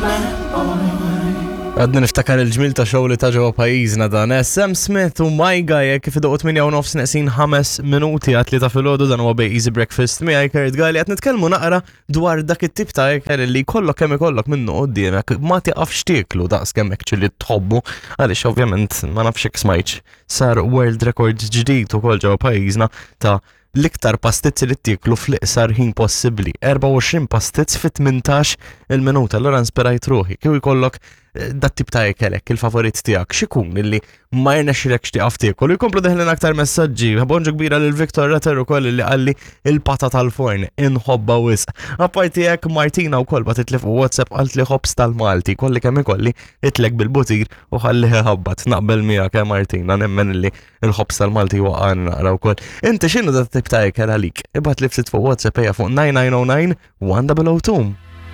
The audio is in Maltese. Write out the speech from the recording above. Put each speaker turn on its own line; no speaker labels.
bad boy.
Għadni niftakar il-ġmil ta' show li ta' ġewwa pajjiżna dan. Eh, Sam Smith u My Guy eh, kif idoqgħu 8 u nofs neqsin 5 minuti għat li ta' filgħodu dan huwa bej Easy Breakfast miegħi Kurt Gali qed nitkellmu naqra dwar dak it-tip ta' ikel li jkollok kemm ikollok minnu quddiemek ma tiqafx tieklu daqs kemm hekk li tħobbu għaliex ovvjament ma nafx hekk smajtx sar world record ġdid ukoll ġewwa pajjiżna ta' l-iktar pastizzi li ttieklu fl-iqsar ħin possibbli. 24 pastizz fi 18 il-minuta. Allura nspirajt ruħi. Kieku jkollok eh, dat tip ta' ikelek, il-favorit tiegħek, x'ikun illi ma jirnexxilekx tieqaf tiekol. U jkomplu deħlin aktar messaġġi. Bonġu kbira lil Victor Retter ukoll li qalli il-pata tal-forn inħobba wisq. Apparti hekk Martina wkoll bagħtitli fuq WhatsApp qalt li ħobż tal-Malti, kolli kemm ikolli itlek bil-butir u ħalli ħabbat. Naqbel miegħek eh, Martina, nemmen illi il-ħobż tal-Malti waqan naqra wkoll. Inti x'inhu dat tip ta' ikel għalik? Ibgħat li ftit fuq WhatsApp ejja fuq 9909 1002.